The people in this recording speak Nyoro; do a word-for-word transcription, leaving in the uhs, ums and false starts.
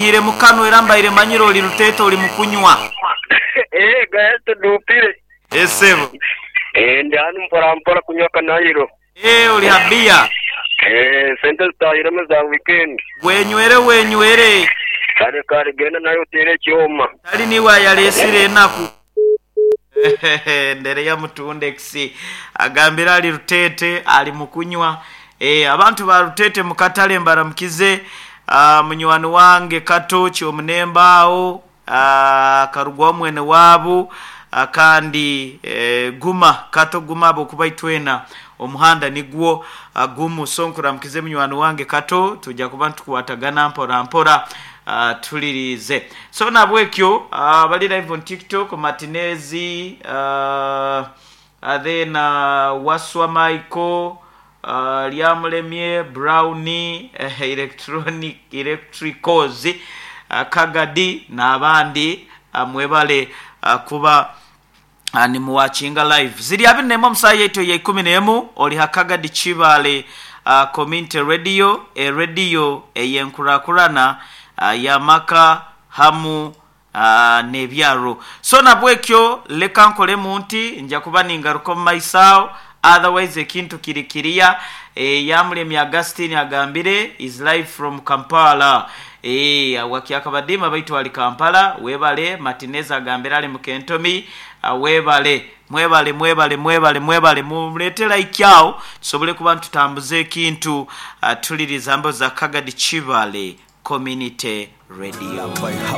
Ire mukano era mbaire manyire oli Luteete oli mukunywa. Eh, gaya tudupire. Esebo. Eh, ndi hanu mpola mpola kunywa kanairo. Eh, oli habiya. Eh, sente zitahiremu za weekend. Wenywere wenywere. Kale kale genda nayo otere ekyoma. Tali niwe ayalesire enaku. Ndereya Mutundex agambira ali Luteete ali mukunywa. Eh, abantu ba Luteete mukatale mbaramukize. Uh, munywani wange Kato Kyomunemba awo, uh, karugwa mwene waabu, uh, kandi eh, guma Kato guma abo kuba itwena omuhanda nigwo uh, gumu. So nkuramukize munywani wange Kato, tujja kuba ntukwatagana mpora mpora, uh, tulirize. So nabwekyo uh, bali live on TikTok, Martinezi, uh, uh, then uh, Waswa Michael, uh, Lyamulemye Brownie, eh, electronic electricals, uh, Kagadi n'abandi, uh, mwebale uh, kuba uh, nimuwatchinga live. Ziri abiri nemu omusaha yaitu ya ikumi nemu. Oli ha Kagadi Kibale uh, Community Radio, eradio eyenkurakurana uh, yamaka hamu uh, n'ebyaro. So nabwekyo leka nkolemu nti nja kuba ningaruka omu maiso awo, otherwise ekintu kiri kiriya. e, Yamulemi Augustine agambire is live from Kampala. e, wakyakabadima baitu ali Kampala. Webale. Martinez agambire ali mukentomi. uh, webale mwebale mwebale mwebale mwebale. Mulete like awo tusobole kuba ntutambuze ekintu. uh, tuliriza mbo za Kagadi Kibale Community Radio.